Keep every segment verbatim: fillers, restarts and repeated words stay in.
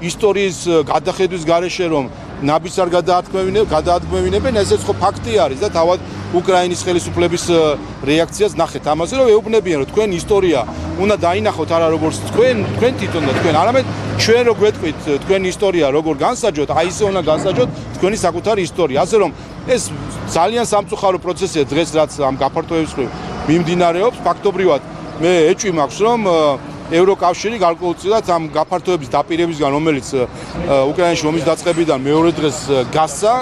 ისტორიის გადახედვის გარეშე რომ ნაბიჯს არ გადაადგმევინებენ, ესეც ხო ფაქტი არის და თავად უკრაინის ხელისუფლების რეაქციას ნახეთ ამაზე, რომ ეუბნებიან, რომ თქვენ ისტორია უნდა დაინახოთ არა როგორც თქვენ, თქვენ თვითონ და თქვენ, არამედ ჩვენ რო გვეტყვით თქვენ ისტორია როგორ განსაჯოთ, აი ისე უნდა განსაჯოთ თქვენი საკუთარი ისტორია. ასე რომ ეს ძალიან სამწუხარო პროცესია დღეს რაც ამ გაფართოების მხრივ მიმდინარეობს. ფაქტობრივად მე ეჭვი მაქვს რომ ევროკავშირი გარკვეულწილად ამ გაფართოების დაპირებისგან, რომელიც უკრაინაში ომის დაწყებიდან მეორე დღეს გასცა,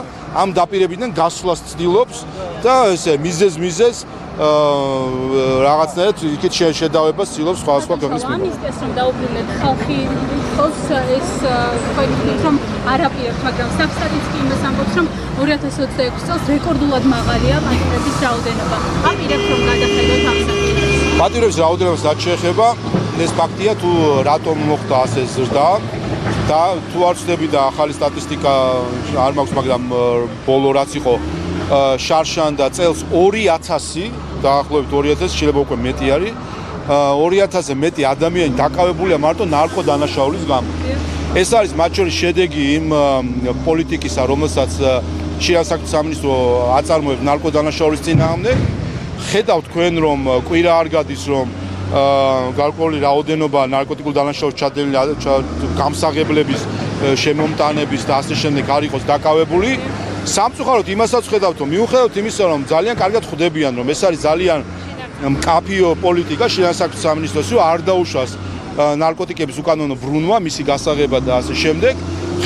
ამ დაპირებიდან გასვლას ცდილობს და ესე მიზეზ მიზეზ რაღაცნაირად იქით შედავებას ცდილობს სხვა სხვა ქვეყნის მიმართ. ამის რომ დაუბრუნდეთ ხალხი ხოს ეს თქვენ რომ არაპირებთ, მაგრამ სტატისტიკა იმას ამბობს, რომ ორი ათას ოცდაექვსი წელს რეკორდულად მაღალია პატიმრების რაოდენობა. აპირებთ რომ გადახედოთ ამ საკითხს. პატიმრების რაოდენობას რაც შეეხება, ეს ფაქტია თუ რატომ მოხდა ასე ზრდა და თუ არ ვწდები და ახალი სტატისტიკა არ მაქვს, მაგრამ ბოლო რაც იყო შარშან და წელს ორი ათასი დაახლოებით ორი ათასი შეიძლება უკვე მეტი არის ორი ათასზე მეტი ადამიანი დაკავებულია მარტო ნარკოდანაშაულის გამო. ეს არის მათ შორის შედეგი იმ პოლიტიკისა, რომელსაც შინაგან საქმეთა სამინისტრო აწარმოებს ნარკოდანაშაულის წინააღმდეგ. ხედავთ თქვენ რომ კვირა არ გადის რომ გარკვეული რაოდენობა ნარკოტიკულ დანაშაულს ჩადენილი გამსაღებლების შემომტანების და ასე შემდეგ არ იყოს დაკავებული. სამწუხაროდ იმასაც ხედავთ რომ მიუხედავად იმისა რომ ძალიან კარგად ხვდებიან რომ ეს არის ძალიან მკაფიო პოლიტიკა შინაგან საქმეთა სამინისტროს არ დაუშვას ნარკოტიკების უკანონო ბრუნვა, მისი გასაღება და ასე შემდეგ.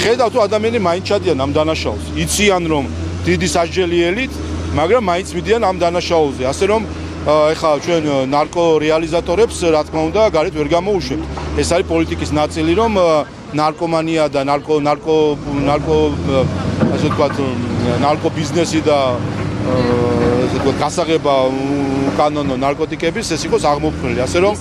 ხედავთ რომ ადამიანები მაინც ჩადიან ამ დანაშაულს. იციან რომ დიდი სასჯელიელით, მაგრამ მაინც მიდიან ამ დანაშაულზე. ასე რომ ეხლა ჩვენ ნარკო რეალიზატორებს რა თქმა უნდა გარეთ ვერ გამოუშვებთ. ეს არის პოლიტიკის ნაწილი რომ ნარკომანია და ნარკო ნარკო ნარკო ასე ვთქვათ ნარკო ბიზნესი და ესე ვთქვათ გასაღება კანონო ნარკოტიკების ეს იყოს აღმოფხვრილი. ასე რომ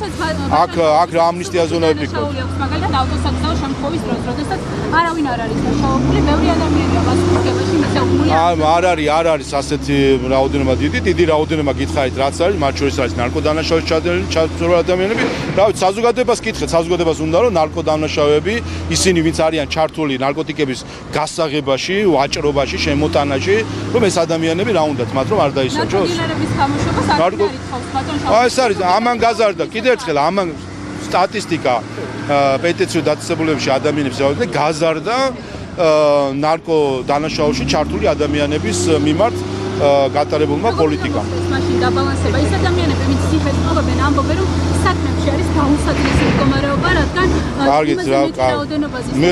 აქ აქ რა ამნისტიაზე უნდა ვიფიქროთ. მაგალითად ავტოსაცდაო შემთხვევის დროს, როდესაც არავინ არ არის დაშავებული, ბევრი ადამიანია მასკუთკებაში მისაუბრული. არ არის, არ არის ასეთი რაოდენობა დიდი, დიდი რაოდენობა გითხარით რაც არის, მათ შორის არის ნარკოდანაშაულის ჩადენილი ჩართული ადამიანები. რა ვიცი, საზოგადოებას კითხეთ, საზოგადოებას უნდა რომ ნარკოდანაშაუები, ისინი ვინც არიან ჩართული ნარკოტიკების გასაღებაში, ვაჭრობაში, შემოტანაში, რომ ეს ადამიანები რა უნდათ მათ რომ არ დაისაჯოს. ნარკოდილერების გამოშვებას არ ითხოვს ბატონ შავ. ეს არის ამან გაზარდა. კიდევ ერთხელ ამან სტატისტიკა პეტიციურ დაწესებულებებში ადამიანების რაოდენობა გაზარდა ნარკო დანაშაულში ჩართული ადამიანების მიმართ გატარებულმა პოლიტიკამ. მაშინ დაბალანსება ის ადამიანები, ვინც ციხეს ყობენ, ამბობენ რომ საქმეში არის გაუსაძლისი მდგომარეობა, რადგან იმაზე მეტი რაოდენობაზე მე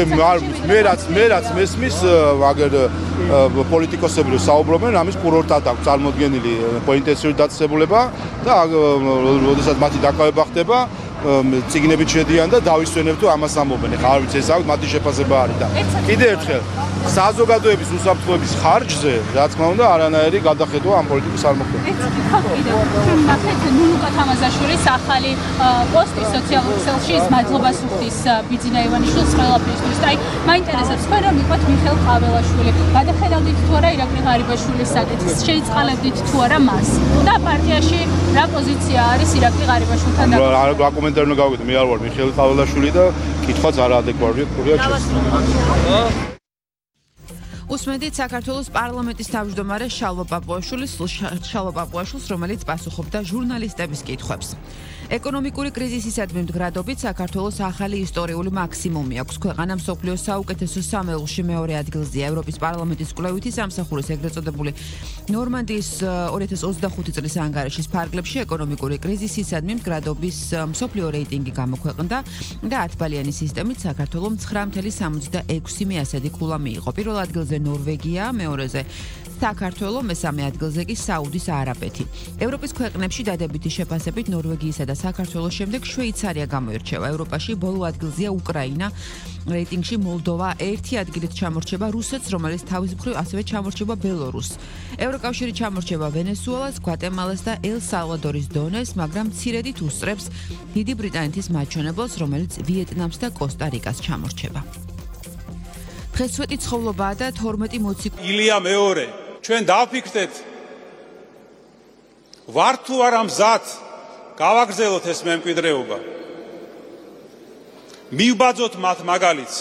მე რაც მე რაც მესმის აგერ პოლიტიკოსები რომ საუბრობენ, ამის კურორტად აქვს წარმოდგენილი პეტიციური დაწესებულება და როდესაც მათი დაკავება ხდება ციგნებით შედიან და დავისვენებ თუ ამას ამბობენ. ეხლა არ ვიცი ეს აქვს მათი შეფასება არის და კიდევ ერთხელ საზოგადოების უსაფრთხოების ხარჯზე რა თქმა უნდა არანაირი გადახედვა ამ პოლიტიკის არ მოხდება. ეს კიდევ ჩვენ ნახეთ ნუნუკა თამაზაშვილის ახალი პოსტი სოციალურ ქსელში ის მადლობას უხდის ბიძინა ივანიშვილს ყველაფრისთვის. აი მაინტერესებს თქვენ რომ იყოთ მიხეილ ყაველაშვილი. გადახედავდით თუ არა ირაკლი ღარიბაშვილის საკითხს, შეიწყალებდით თუ არა მას და პარტიაში რა პოზიცია არის ირაკლი ღარიბაშვილთან და კომენტარი უნდა გავიგეთ, მე არ ვარ მიხეილ ყაველაშვილი და კითხვაც არაადეკვატურია ჩემს. უსმენთ საქართველოს პარლამენტის თავმჯდომარე შალვა პაპუაშვილის შალვა პაპუაშვილს, რომელიც პასუხობდა ჟურნალისტების კითხვებს. ეკონომიკური კრიზისისადმი მდგრადობით საქართველოს ახალი ისტორიული მაქსიმუმი აქვს. ქვეყანა მსოფლიოს საუკეთესო სამეულში მეორე ადგილზეა. ევროპის პარლამენტის კვლევითი სამსახურის ეგრეთ წოდებული ნორმანდიის ორი ათას ოცდახუთი წლის ანგარიშის ფარგლებში ეკონომიკური კრიზისისადმი მდგრადობის მსოფლიო რეიტინგი გამოქვეყნდა და ათბალიანი სისტემით საქართველოს ცხრა ათეული სამოცდაექვსი მეასადი ქულა მიიღო. პირველ ადგილზე ნორვეგია, მეორეზე საქართველო, მესამე ადგილზე კი საუდის არაბეთი. ევროპის ქვეყნებში დადებითი შეფასებით ნორვეგიისა და საქართველოს შემდეგ შვეიცარია გამოირჩევა. ევროპაში ბოლო ადგილზეა უკრაინა, რეიტინგში მოლდოვა ერთი ადგილით ჩამორჩება რუსეთს, რომელიც თავის მხრივ ასევე ჩამორჩება ბელორუსს. ევროკავშირი ჩამორჩება ვენესუელას, გვატემალას და ელ-სალვადორის დონეს, მაგრამ მცირედით უსწრებს დიდი ბრიტანეთის მაჩვენებელს, რომელიც ვიეტნამს და კოსტა-რიკას ჩამორჩება. დღესვეტი ცხოვრობაა და თორმეტი მოციქული. ილია მეორე, ჩვენ დავფიქრდეთ ვარ თუ არა მზად გავაგრძელოთ ეს მემკვიდრეობა. მივბაძოთ მათ მაგალითს